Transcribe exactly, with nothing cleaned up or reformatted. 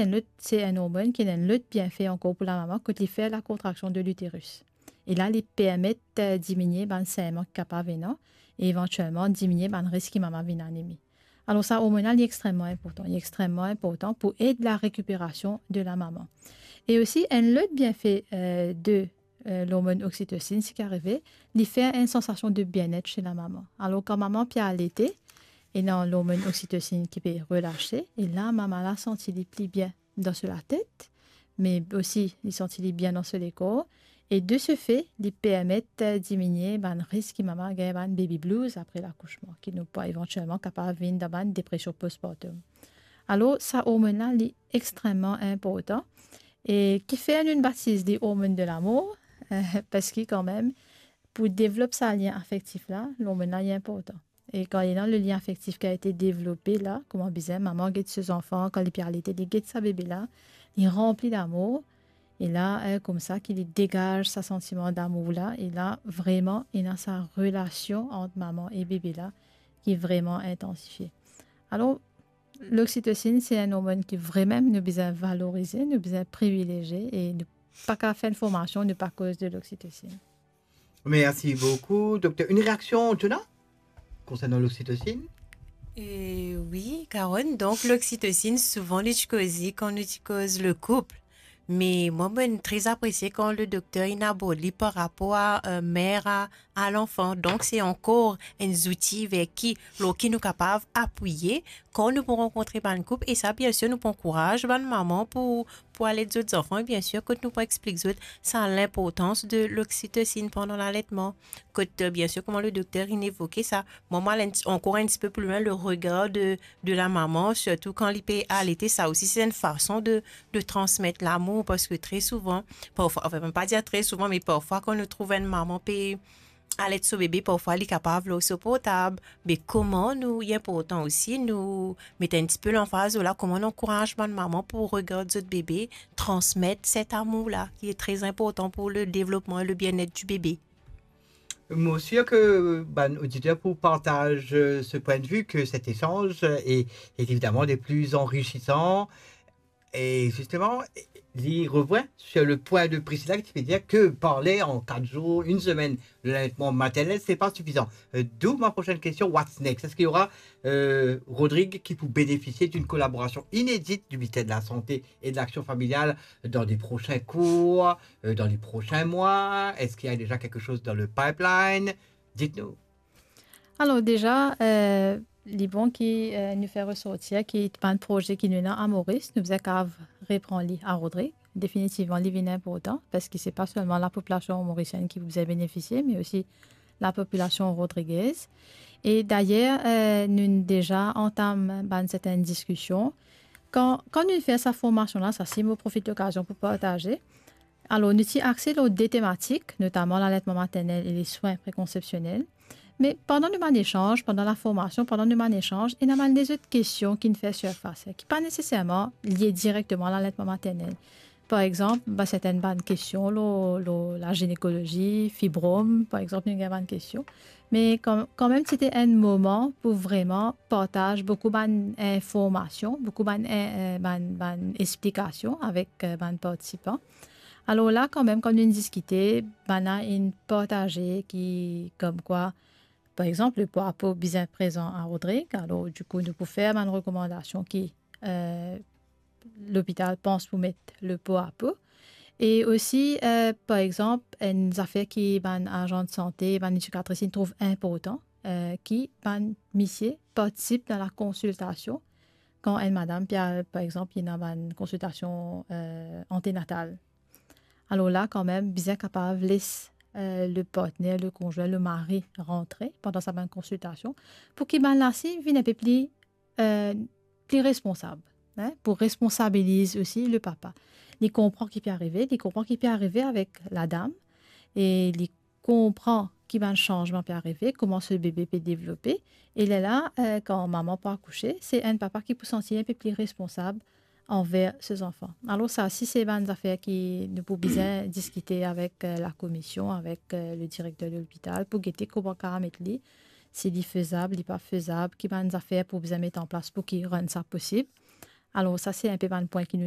enn lot, se enn ormonn ki ena enn lot bienfe ankor pou lamama, kot li fer lakontraksion de literis. E la, li permet, eh, diminie bann saiman ki kapav ena, e evantielman diminie bann risk ki mama vinn anemi. Alor, sa ormonn la, li extrememan inportan. Li extrememan inportan pou ed larekiperasion de lamama. E osi, enn lot bienfe, eh, de, eh, lormonn oksitosin, seki arive, li fer enn sansasion de bienet se lamama. Alor, kan mama pe alete, ena lormonn oksitosin ki pe relase, e la, mama la santi li pli bien dan so latet, me osi li santi li bien dan so lekor. E de se fe, li permet, eh, diminie bann risk ki mama gagn bann baby blues apre lakousman, ki nou pou evantielman kapav vinn dan bann depresion postpartum. Alor, sa ormonn la, li extrememan inportan. E kifer nou batiz li ormonn de lamour, eh, parski kanmem, pou devlop sa lien afektif la, lormonn la, li inportan. E kan ena le lien afektif ki a ete devlope la, kouma bizin, mama get so zanfan, kan li pe alete, li get sa bebe la, li ranpli lamour, e la, eh, koumsa ki li degaz sa santiman damour la, e la, vreman, ena sa relasion ant mama e bebe la, ki vreman intansifie. Alor, loksitosin, se enn ormonn ki vremem nou bizin valorize, nou bizin privilezie, e nou pa kav fer enn formasion, nou pa koz de loksitosin. Merci beaucoup, docteur. Une réaction, Jonah, concernant l'oxytocine ? Eh oui, Carole, donk loksitosin, souvan li ti koze kan nou ti koz le koup. Me mwa, mo tre apresie kan le dokter inn abord li par rapor a, eh, mer a, a lanfan. Donk, se ankor enn zouti ver ki, lor ki nou kapav apiye kan nou pou rankontre bann koup. E sa, biensir, nou pou ankouraz bann mama pou, pou al ed zot zanfan. E biensir, kot nou pou explik zot sa linportans de loksitosin pandan laletman. Kot, eh, biensir, kouma le dokter inn evoke sa, mwa, mo al enn ti, ankor enn tipe pli lwin, le regar de, de lamama, sirtou kan li pe alete, sa osi, se enn fason de, de transmet lamour, parski tre souvan, parfwa, anfin, mo pa dir tre souvan, me parfwa, kan nou trouv enn mama pe alet so bebe, parfwa, li kapav lor so portab. Me kouma nou, li inportan osi, nou met enn tipe lanfaz la, kouma nou ankouraz bann mama pou regard zot bebe, transmet set amour la, ki e tre inportan pou le devlopman e le bienet di bebe. Mo sir ke bann oditer pou partaz, euh, ce point de vue, que cet échange est, est évidemment des plus enrichissants. Et justement, li revient sur le point de Priscilla qui veut dire que parler en quatre jours, une semaine de l'allaitement maternel, c'est pas suffisant. Euh, d'où ma prochaine question, what's next ? Est-ce qu'il y aura, euh, Rodrigue qui peut bénéficier d'une collaboration inédite du ministère de la Santé et de l'Action familiale dans des prochains cours, euh, dans les prochains mois ? Est-ce qu'il y a déjà quelque chose dans le pipeline ? Dites-nous. Alor deza, eh, li bon ki, eh, nou fer resortir ki bann proze ki nou ena a Moris, nou bizin kav repran li a Rodrig. Definitivman, li vinn inportan, parski se pa selman lapopilasion morisienn ki pou bizin benefisie, me osi lapopilasion rodrigez. E dayer, eh, nou deza antam bann sertenn diskision. Kan, kan nou fer sa formasion la, sa si mo profit lokazion pou partaze, alor, nou ti axe lor de tematik, notaman laletman maternel e leswin prekonsepsionel. Me pandan nou bann esanz, pandan laformasion, pandan nou bann esanz, ena bann lezot kestion ki'nn fer sirfas, ki pa neseserman lie direkteman laletman maternel. Par exanp, bann sertenn bann kestion lor, lor laginekolozi, fibrom, par exanp, nou gagn bann kestion. Me kan, kanmem, ti ete enn moman pou vreman partaz boukou bann informasion, boukou bann, eh, eh, bann, bann explikasion avek, eh, bann partisipan. Alor la, kanmem, kan nou diskite, bann la inn partaze ki, komkwa, par exanp, lepwa po bizin prezan a Rodrig. Alor, dikou, nou pou fer bann rekomandasion ki, eh, lopital pans pou met lepwa po. E osi, eh, par exanp, enn zafer ki bann azan de sante, bann edikatris, inn trouv inportan, eh, ki bann misie partisip dan lakonsiltasion kan enn madam pe al, par exanp, ena bann konsiltasion, eh, antenatal. Alor la, kanmem, bizin kapav les, eh, le partner, le konzwin, le mari rantre pandan sa bann konsiltasion, pou ki bann la si vinn enpe pli, eh, pli responsab, hein, pou responsabiliz osi le papa. Li konpran ki pe arive, li konpran ki pe arive avek ladam, e li konpran ki bann sanzman pe arive, kouma so bebe pe devlope. E lerla, eh, kan mama pou akouse, se enn papa ki pou santi enpe pli responsab anver so zanfan. Alor sa, si se bann zafer ki nou pou bizin diskite avek, eh, lakomision, avek, eh, le direkter de lopital, pou gete kouma kav met li, si li fezab, li pa fezab, ki bann zafer pou bizin met an plas pou ki rann sa posib. Alor sa, se enpe bann pwin ki nou